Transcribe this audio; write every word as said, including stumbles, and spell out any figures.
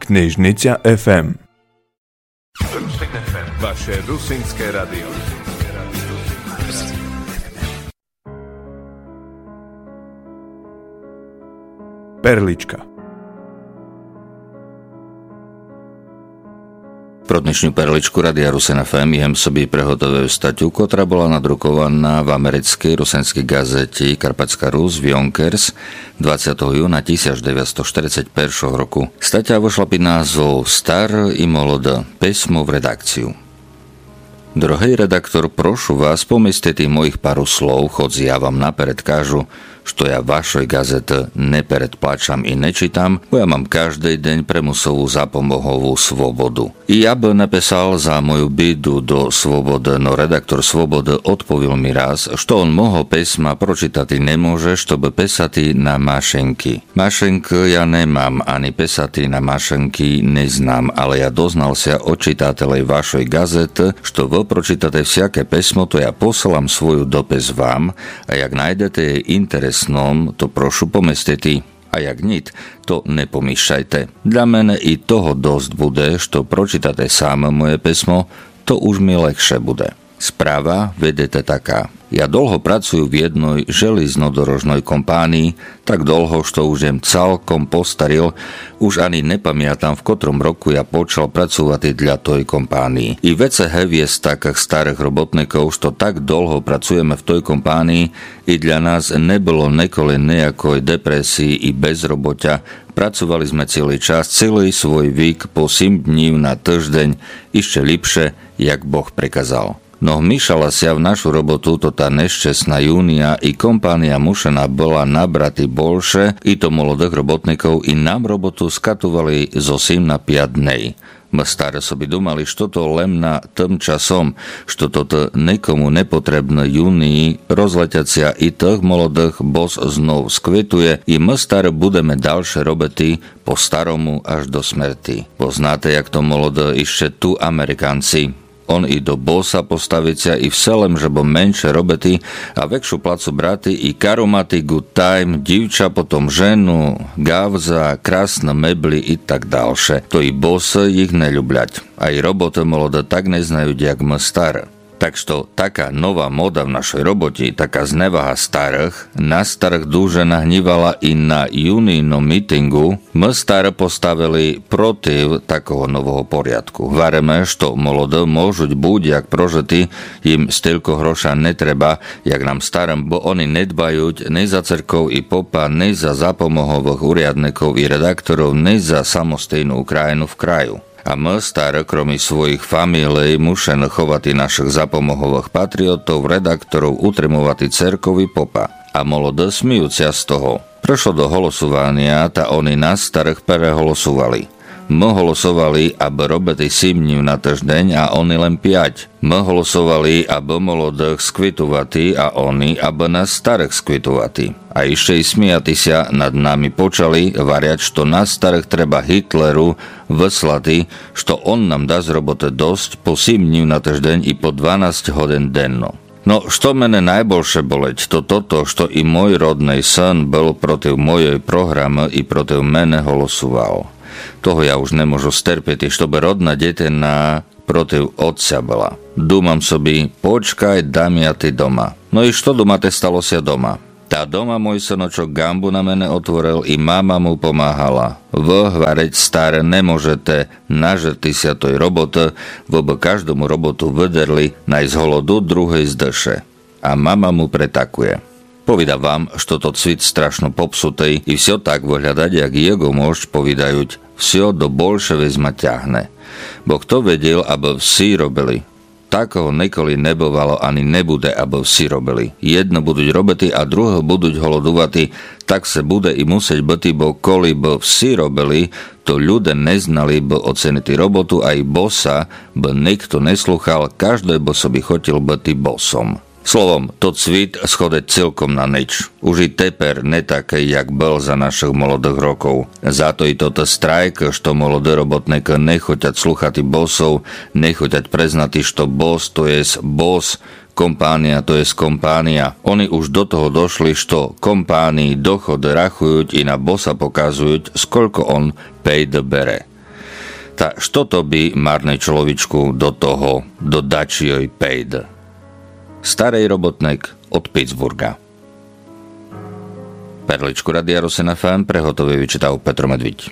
Knežnica F M. Vaše rusinské radio. Perlička. Про днешню Перличку Радия Русин F M єм собі приготовив статю, котра была надрукованá в америцкій русинській ґазеті Карпатська Русь, Вйонкерс, двадцятого юна тисяч девятсто штерицять першого року. Статя вышла під назвом Стар і молодо. Писмо в редакцію. Дорогый редактор, прошу вас поместити моїх пару слов, хоц я вам наперед кажу, што я вашой ґазеты не передплачам і не читам, бо я мам каждый день примусову запомогову свободу. І я бы написал за мою біду до Свободы, но редактор Свободы одповіл мі раз, што он мого писма прочитати не може, што бы писати на машинки. Машинкы я не мам, ани писати на машинки не знам, але я дознал ся од читателей вашой ґазеты, што вы прочитате всяке писмо, то я посылам свою допис вам, а як найдете єй інтересном, то прошу поместити. А як ніт, то не помішайте. Для мене і того досц буде, што прочитате саме моє писмо, то уж мі легше буде. Справа, видите, така. Я долго працую в єдной желізнодорожной компанії, так долго, што уж єм цалком постаріл, уж ани не памятам, в котром року я почал працувати для той компанії. І веце гевєст такых старых роботников, што так долго працуєме в той компанії, і для нас не было неколи ниякой депресії і безроботя. Працовали сме цілый час, цілый свой вік, по сім днів на тыждень, іщи ліпше, як Бог приказал. Но вмішала ся в нашу роботу тота нещесна юния і компанія мушена была набрати больше, і то молодых роботников, і нам роботу скатовали зо сім на пять дней. Мы стары собі думали, што то лем на тым часом, што тото никому не потребно, юнії розлетят ся і тых молодых бос знов сквитує, і мы стары будеме дальше робити по старому аж до смерти. Бо знате, як то молодо іщи ту американці. Он і до боса поставит ся і все лем, жебы менше робити, а векшу плацу брати і кару мати good time, дівча, потом жену, ґавза, красны меблі і так дальше. То і босы їх не люблять. А і роботы молодо так не знають, як мы стары. Так што така нова мода в нашой роботі, така зневага старых, нас старых дуже нагнівала і на юнийном мітингу мы стары поставили против такого нового порядку. Гвариме, што молодо можуть будь-як прожити, їм стілько гроша не треба, як нам старым, бо они не дбають ни за церков і попа, ни за запомоговых урядников і редакторов, ни за самостійну Україну в краю. А мы, стары, кромі своїх фамілей, мушены ховати нашых запомоговых патріотов, редакторов, утримовати церков і попа. А молодо сміють ся з того. Пришло до голосованя, та они нас, старых, переголосовали. Мы голосовали, абы робити сім днів на тыждень, а они лем пять. Мы голосовали, абы молодых сквитовати, а они, абы нас, старых, сквитовати. А іщи й сміяти ся над нами почали, гварять, што нас, старых, треба Гітлеру выслати, што он нам дасть роботы досц по сім днів на тыждень і по дванасц годин денно. Но, што мене найбольше болить, то тото, што і мой родный сын был против мойой програмы і против мене голосовал. Того я уж не можу стерпіти, штобы родна дітина против отця была. Думам собі, почкай, дам я ти дома. Но і што, думате, стало ся дома? Та дома мой сыночок ґамбу на мене отворил і мама му помагала. Вы, гварить, стары, не можете нажерти ся той роботы, вы бы каждому роботу выдерли, най з голоду, другый з дыше. А мама му притакує. Повідав вам, што тот світ страшно попсутый і всьо так выглядать, як єго мощ повідають. Всьо до большевизма тягне. Бо хто виділ, абы всі робили? Такого николи не бывало ани не буде, абы всі робили. Єдны будуть робити, а другы будуть голодувати. Так се буде і мусить быти, бо коли бы всі робили, то люде не знали бы оценити роботу, а і боса бы никто не слухал, каждый бы собі хотіл быти босом. Словом, тот світ сходить цілком на нич. Уж і тепер не такый, як был за нашых молодых роков. Зато і тот страйк, што молоды роботникы не хотять слухати босов, не хотять признати, што бос то єст бос, компанія то єст компанія. Они уж до того дошли, што компанії доходы рахують і на боса показують, сколько он пейды бере. Та што тобі, марный чоловічку, до того, до дачийой пейд? Старый роботник од Пітсбурґа. Перличку Радия Русин ФМ приготовив і читав Петро Медвідь.